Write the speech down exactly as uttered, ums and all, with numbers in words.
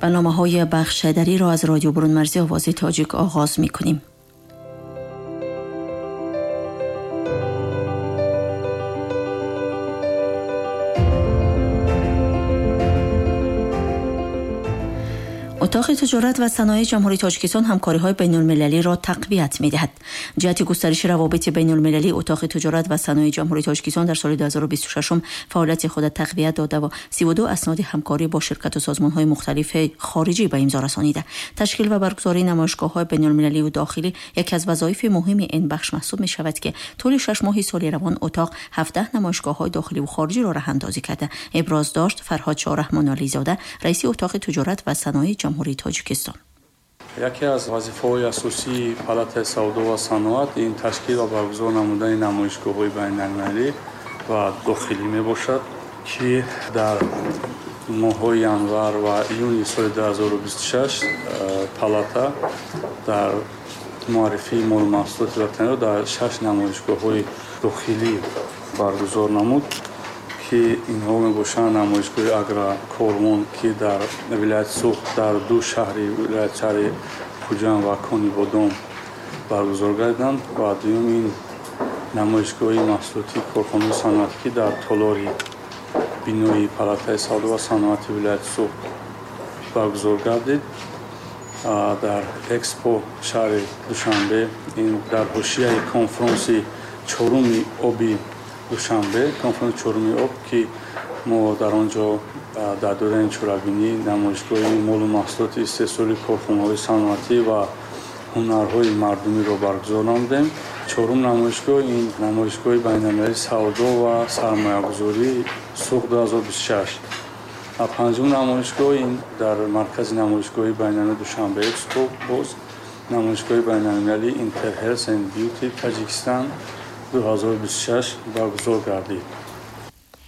برنامه‌های بخش دری را از رادیو برون مرزی آواز تاجیک آغاز می‌کنیم. اتاق تجارت و صنایع جمهوری تاجیکستان همکاری‌های بین‌المللی را تقویت می‌دهد. جهت گسترش روابط بین‌المللی، اتاق تجارت و صنایع جمهوری تاجیکستان در سال دو هزار و بیست و شش فعالیت خود تقویت داده و سی و دو اسناد همکاری با شرکت و سازمان‌های مختلف خارجی به امضا رسانیده. تشکیل و برگزاری نمایشگاه‌های بین‌المللی و داخلی یکی از وظایف مهم این بخش محسوب می‌شود که طول شش ماه سال روان اتاق هفده نمایشگاه‌های داخلی و خارجی را راه‌اندازی کرده. ابراز داشت فرهاد شاه رحمان علیزاده، رئیس اتاق تجارت و صنایع جمهوری تاجیکستان. یکی از وظیفه‌های اساسی پالاتای سودا و صنعت این تشکیل و برگزار نمودن نمایشگاه‌های بین‌المللی و داخلی میباشد که در ماه‌های ینور و ایون سال دو هزار و بیست و شش پالاتا در معرفی مال و محصولات وطنی را در شش نمایشگاه‌های داخلی برگزار نمود که اینها میباشند نمایشگاه اگرا کورمون که در ولایت سوخت در دو شهری ولایت شهر خوجند و کانی بادام برگزار گردیدند و دوم این نمایشگاه محصولاتی کارخانه صنعتی که در تالار بینای پالاتای سودا و صنعت ولایت سوخت برگزار گردید. در اکسپو شهر دوشنبه این در حاشیه کنفرانس چهارم آبی دوشنبه، کنفرانس چهارم آب که ما در آنجا در دوره چورابینی نمایشگاه مال و محصولات استحصالی کارخانه‌های صنعتی و هنرهای مردمی را برگزار نمودیم. چهارم نمایشگاه این نمایشگاه بین‌المللی سودا و سرمایه‌گذاری سوق دو هزار و بیست و شش. و پنجم نمایشگاه این در مرکز نمایشگاه بین‌المللی دوشنبه اکسپو باز نمایشگاه بین‌المللی اینتر هلث اند بیوتی تاجیکستان دو هزار و بیست و شش برگزار گردید.